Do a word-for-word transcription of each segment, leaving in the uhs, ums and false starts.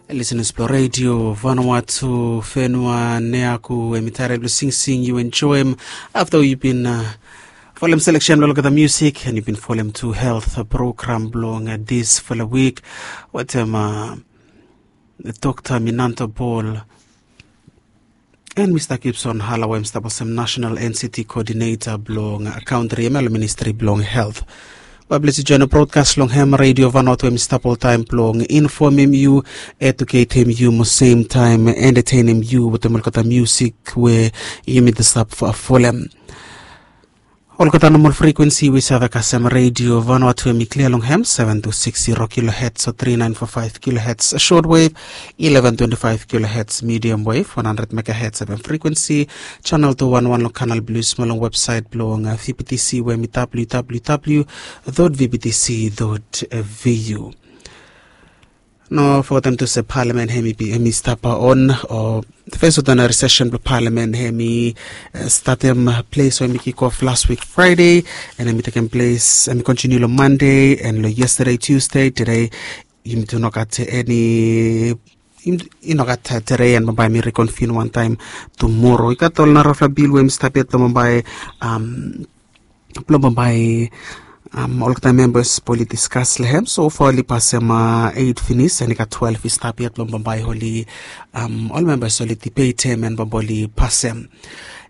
Lisenas blong redio Vanuatu, Fenua Neaku, em i taret blong singsing yu enjoim afta yu bin folem seleksen blong olgeta musik, and yu bin folem tu health program blong disfala wik wetem Dokta Minanta Bol and Mista Gibson Halawa, em i stap olsem National N C T Coordinator blong kantri, em ya long Ministri blong Health. Bae blesi join brodkas long hem redio Vanuatu, em i stap oltaem blong infomem yu, eduketem yu, mo semtaem entetenem yu wetem olgeta musik we yumi stap folem. Olgeta nomol frikuensi we i save kasem redio Vanuatu, em i klia long hem seven two six zero kilohertz o three nine four five kilohertz shortwave, eleven twenty-five kilohertz medium wave, one hundred megahertz F M frikuensi, channel two one one long kanal blue, mo long website blong V B T C we em i W W W dot V B T C dot V U. No fogetem tu se palamen hem i stap on, o fes ordinary session blong palamen hem i statem ples we hem i kikof las wik Fraede, and hem i tekem ples, hem i kontiniu long Mande, and long yestede Tusde, tede yumi tu no gat eni, i no gat tede, and bambae hem i rikonvin wantaem tumoro. I gat ol narafala bil we hem i stap yet blong bambae, blong bambae olgeta membas blong oli diskas long hem. Sofa oli pasem eit finis, and i gat twelve i stap yet blong bambae oli, ol membas oli dibetem and bambae oli pasem.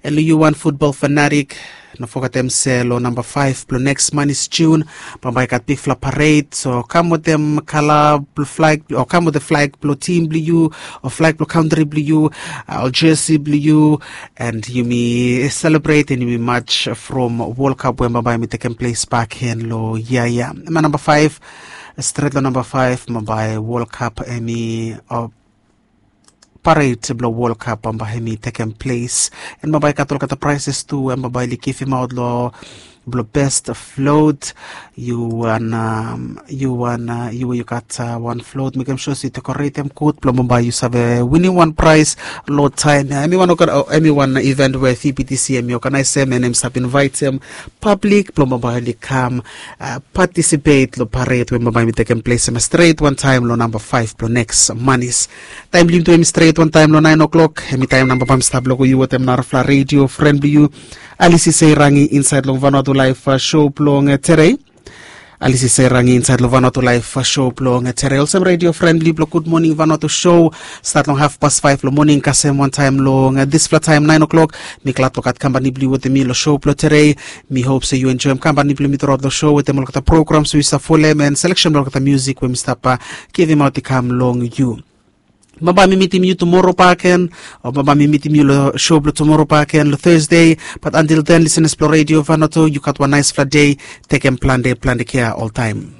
And long yu wan futbol fanatik, no fogetem se long namba faef blong neks manis Jun, bambae i gat bigfala pared, so kam wetem kala blong flag, o kam wetem flag blong tim blong yu, o flag blong kantri blong yu, o jesi blong yu, and yumi selebret and yumi maj from World Cup we bambae hem i tekem ples bakegen long yia ya. Hem ya namba faef, stret long namba faef, bambae World Cup hem i, o pared blong World Cup bambae hem i tekem ples. And bambae i gat olgeta praeses tu we bambae oli givimaot long, blong best float. Yu wan, yu wan, yu we yu gat wan float, mekem sua se yu dekoretem gud blong bambae yu save winim wan praes long taem ya. Hem i wan, hem i wan iven we V B T C hem i oganaesem, and hem i stap invaetem pablik blong bambae oli kam patisipet long pared we bambae hem i tekem ples, hem ya stret wantaem long namba faef blong neks manis. Taem blong yumi tu hem i stret wantaem long naen o'clock, hem i taem nao bambae hem i stap long yu wetem narafala redio fren blong yu, Alisi Seirangi, insaed long Vanuatu Laef show blong tede. Alisi Seirangi insaed long Vanuatu Laef show blong tede, olsem redio fren blong yu blong Gud Moning Vanuatu show. Stat long hafpas faef long moning kasem wantaem long disfala taem naen o'clock. Mi glad blong gat kampani blong yu wetem mi long show blong tede. Mi hop se yu enjoem kampani blong mi truaot long show wetem olgeta programs we yu stap folem and seleksen blong olgeta musik we mi stap givimaot i kam long yu. Bambae mi mitim yu tumoro bakegen, o bambae mi mitim yu long show blong tumoro bakegen long Thursday. Bat until then, lisenas blong redio Vanuatu, yu gat wan naesfala dei. Tekem plante plante kea oltaem.